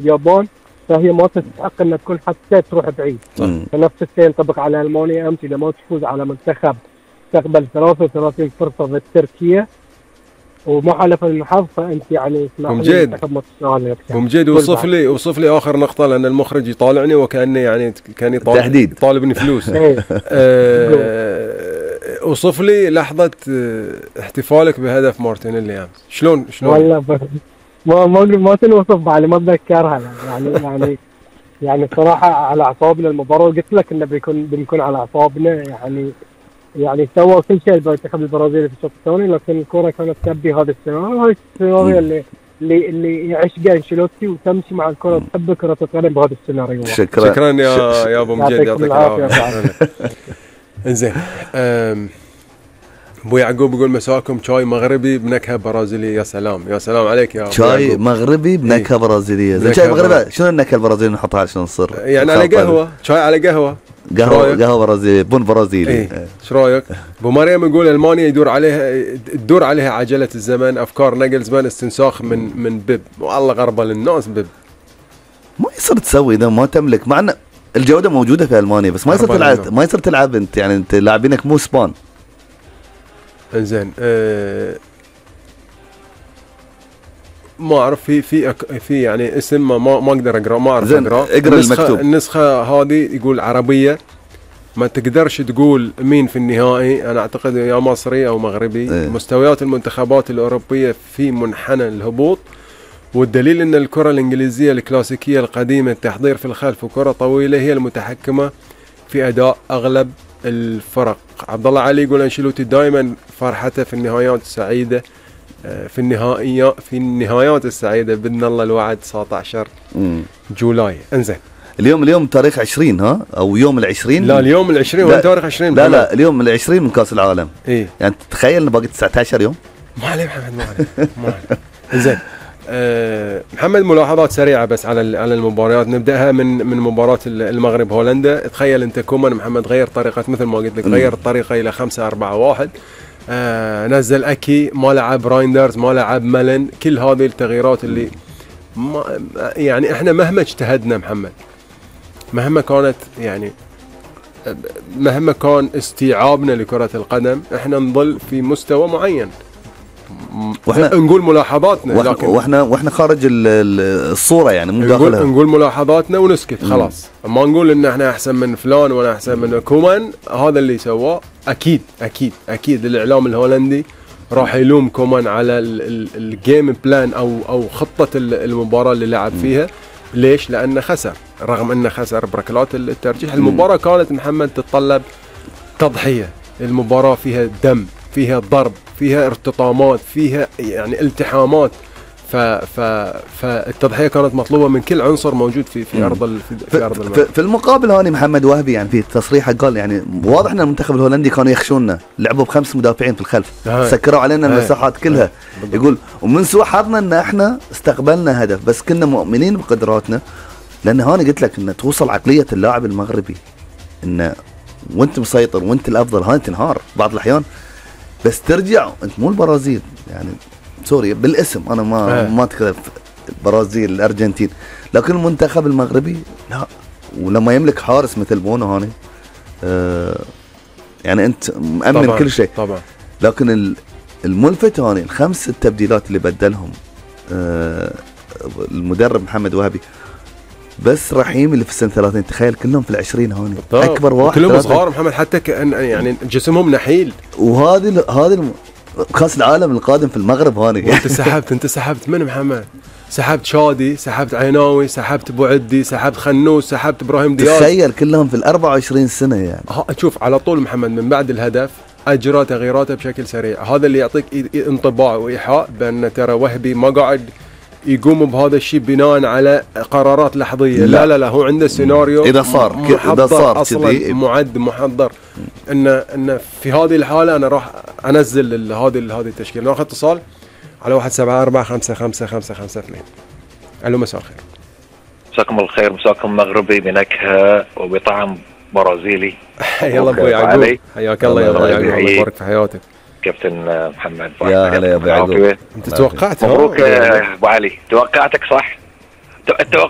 اليابان، فهي ما تستحق ان تكون حتى تروح بعيد. فنفس الشيء ينطبق على المانيا امس، اذا ما تفوز على منتخب تقبل 33 فرصه ضد تركيا وما حالف الحظ، فانت يعني ممجد وصف لي اخر نقطه، لان المخرج يطالعني وكانه يعني كان يطالبني فلوس. وصف لي لحظه احتفالك بهدف مارتينيلي امس، شلون والله ما تنوصف بعد، ما اتذكرها يعني صراحه على اعصابنا المباراه، قلت لك انه بنكون على اعصابنا. يعني سوى كل شيء المنتخب البرازيلي في الشوط الثاني، لكن الكره كانت تبي هذا السيناريو. هاي السيناريو اللي يعشقه انشيلوتي، وتمشي مع الكره وتحب كره القدم بهذا السيناريو. شكرا يا ابو مجيد، يعطيك العافيه. انزين، ابو يعقوب يقول مساكم شاي مغربي بنكهه برازيليه. يا سلام يا سلام عليك يا ابو شاي يعقوب. مغربي بنكهه برازيليه. زين شاي مغربي شنو النكهه البرازيليه نحطها عشان نصير يعني على قهوه؟ شاي على قهوه برازيلي، بن برازيلي. ايش رايك؟ ابو مريم يقول المانيا تدور عليها عجله الزمن، افكار ناجلزمان، استنساخ من بيب. والله غربه للناس بيب. ما يصير تسوي اذا ما تملك، مع ان الجوده موجوده في المانيا، بس ما يصير تلعب انت، يعني انت لاعبينك مو سبان. انزين، ما اعرف في يعني اسم ما اقدر اقرا، ما اعرف اقرا المكتوب. النسخه هذه يقول عربيه، ما تقدرش تقول مين في النهائي. انا اعتقد يا مصري او مغربي. مستويات المنتخبات الاوروبيه في منحنى الهبوط، والدليل ان الكره الانجليزيه الكلاسيكيه القديمه، التحضير في الخلف وكره طويله، هي المتحكمه في اداء اغلب الفرق. عبد الله علي يقول انشيلوتي دائما فرحته في النهايات السعيده، في النهايات السعيده باذن الله الوعد 19 جولاي. انزين، اليوم تاريخ 20 ها او يوم ال20؟ لا اليوم ال20 ولا تاريخ 20؟ لا اليوم ال20 من كاس العالم. يعني تخيل باقي 19 يوم. ما عليه محمد، ما عليه. انزين، محمد ملاحظات سريعه بس على المباريات. نبداها من مباراه المغرب هولندا. تخيل انت كومان محمد غير طريقه، مثل ما قلت لك غير الطريقه الى 5-4-1. نزل اكي، ما لعب رايندرز، ما لعب مالن. كل هذه التغييرات اللي يعني احنا مهما اجتهدنا محمد، مهما كان استيعابنا لكره القدم، احنا نظل في مستوى معين. واحنا نقول ملاحظاتنا، لكن واحنا خارج الصوره، يعني مو داخلها. نقول ملاحظاتنا ونسكت خلاص. ما نقول ان احنا احسن من فلان ولا احسن من كومان. هذا اللي سواه اكيد الاعلام الهولندي راح يلوم كومان على الجيم بلان او خطه المباراه اللي لعب فيها. ليش؟ لانه خسر، رغم انه خسر بركلات الترجيح. المباراه كانت محمد تتطلب تضحيه. المباراه فيها دم، فيها ضرب، فيها ارتطامات، فيها يعني التحامات. فالتضحيه كانت مطلوبه من كل عنصر موجود في ارض الملعب. في المقابل هاني محمد وهبي يعني في تصريحه قال يعني واضح ان المنتخب الهولندي كانوا يخشوننا، لعبوا ب5 مدافعين في الخلف، سكروا علينا المساحات كلها. يقول ومن سوء حظنا ان احنا استقبلنا هدف، بس كنا مؤمنين بقدراتنا. لان هاني قلت لك ان توصل عقليه اللاعب المغربي ان وانت مسيطر وانت الافضل، هاني تنهار بعض الاحيان، بس ترجع انت مو البرازيل. يعني سوري بالاسم، انا ما اتكلم البرازيل الارجنتين، لكن المنتخب المغربي لا. ولما يملك حارس مثل بونو هاني يعني انت مأمن طبعًا كل شيء طبعا. لكن الملفت هاني ال5 التبديلات اللي بدلهم المدرب محمد وهبي، بس رحيم اللي في السنه 30 تخيل كلهم في ال20 هاني، اكبر واحد كلهم صغار محمد، حتى يعني جسمهم نحيل. وهذه كاس العالم القادم في المغرب هاني. انت سحبت من محمد؟ سحبت شادي، سحبت عيناوي، سحبت ابو عدي، سحبت خنوس، سحبت ابراهيم دياز. تخيل كلهم في ال24 سنه يعني. شوف على طول محمد من بعد الهدف اجرى تغييراته بشكل سريع. هذا اللي يعطيك انطباع وايحاء بان ترى وهبي ما قاعد يقوم بهذا الشيء بناء على قرارات لحظيه. لا هو عنده سيناريو اذا صار اصلا معد محضر ان في هذه الحاله انا راح انزل هذه التشكيله. ناخذ اتصال على 174-55-552. الو مساء الخير. مساكم الخير، مساكم مغربي بنكهه وبطعم برازيلي. يلا ابو يعقوب، حياك الله يا ابو يعقوب، الله يبارك في حياتك. كابتن محمد يا هلا يا ابو يعقوب. انت توقعت؟ مبروك يا ابو علي، توقعتك صح. اتوقع